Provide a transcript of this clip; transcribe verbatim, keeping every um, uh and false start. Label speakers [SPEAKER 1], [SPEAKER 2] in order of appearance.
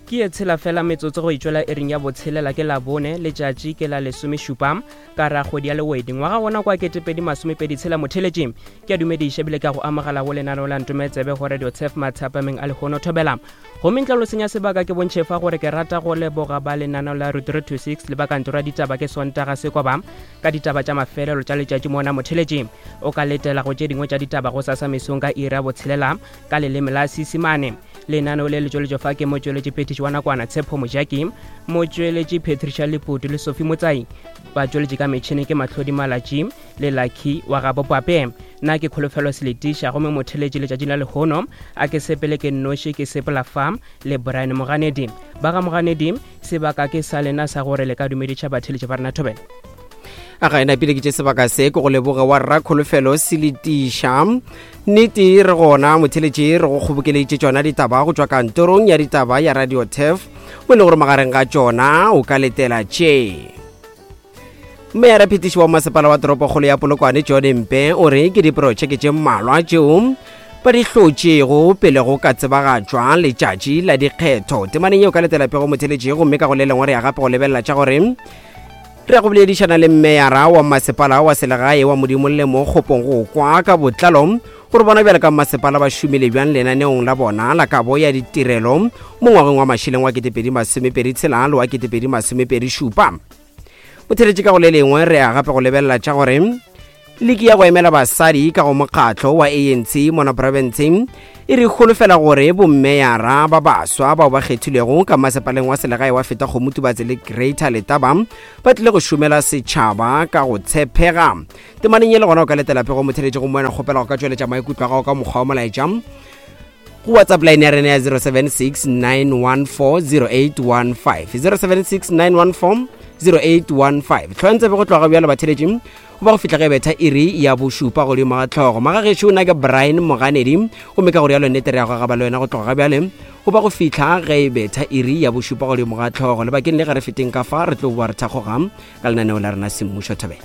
[SPEAKER 1] Ke ye tshela fela metsotso go itšwela iring ya botshelela ke Labone, letšatši ke la lesomešupa ka ra kgwedi ya Lewedi ngwaga wona kwa ketepedi masomepedi tshela. Motheletši ke a dumediša ebile ka go amogela go lenaneo la Ntometsebe go Radio Tshef mathapameng a lehono thobela. Gomme ntle lo senya sebaka ke bontšhe fa gore ke rata go leboga ba lenaneo la Route three two six le ba kantoro ya ditaba ke Sontaga Sekoba ka ditaba tša mafelelo tša letšatši mona. Motheletši o ka letela go tše dingwe tša ditaba go sasa mesong ka iri ya botshelela ka leleme la Seesimane. Lenaneo le le tšweletšo fa ke motšweletši phetiši wa nakwana Tshepo Mojaki, motšweletši Patricia Leputu le Sophie Motsai, batšweletši ka metšhene ke Mahlodi Malatši le Lucky wa gabo Pape. Nna ke Kholofelo Seletiša, gomme motheletši letšatšing la lehono a ke sepele ke nnoši, ke sepela fa le Brian Moganedi. Ba ga Moganedi, sebaka ke sa lena sa gore le ka dumediša batheletši ba rena thobela.
[SPEAKER 2] A ga ena pele ke tše sebaka se ke go leboge wa rra Kholofelo Seletiša. Nnete re gona motheletši re go kgobokeleditše tšona ditaba go tšwa kantorong ya ditaba ya Radio Tef, mo e le gore magareng ga tšona o ka letela tše. Meyara phetiši wa masepala wa toropokgolo ya Polokwane John Mpe o re ke diprotšeke tše mmalwa tšeo ba di hlotšego pele go ka tsebagatšwa letšatši la dikgetho. Temaneng yeo ka letela pego motheletši, gomme ka go le lengwe re ya gape go lebelela tša gore re ya go boledišana le mmeyara wa masepala wa selegae wa Modimolle mo Kgopong go kwa ka botlalo gore bona bjale ka masepala ba šomile bjang lenaneong la bona la kabo ya ditirelo mo ngwageng wa mašeleng wa ketepedi masomepedi tshela le wa ketepedi masomepedi šupa. Motheletši ka go le lengwe re ya gape go lebelela tša gore liki ya go emela basadi ka go mokgatlo wa A N C mona profenseng e re holofela gore bommeyara ba baswa bao ba kgethilwego ka masepaleng wa selegae wa Feta Kgomotubatse le Greater Letaba ba tlile go šomela setšhaba ka go tshepega. Temaneng ye le gona o ka letela pego motheletši go moena kgopela go ka tšweletša maikutlo a gago ka mokgwa wa molaetša go WhatsApp line ya rena ya zero seven six nine one four zero eight one five, zero seven six nine one four zero eight one five. Tlhoentse go tloga bjalo batheletši go ba go fihla ge betha iri ya bošupa godimo ga tlhogo. Magagešo nna ke Brian Moganedi, gomme ka go rialo nnete re ya go gaba le wena go tloga bjale go ba go fihla ge betha iri ya bošupa godimo ga tlhogo. Lebakeng le ge re feteng ka fa re tlo boa re thakgoga ka lenaneo la rena semmušo thobela.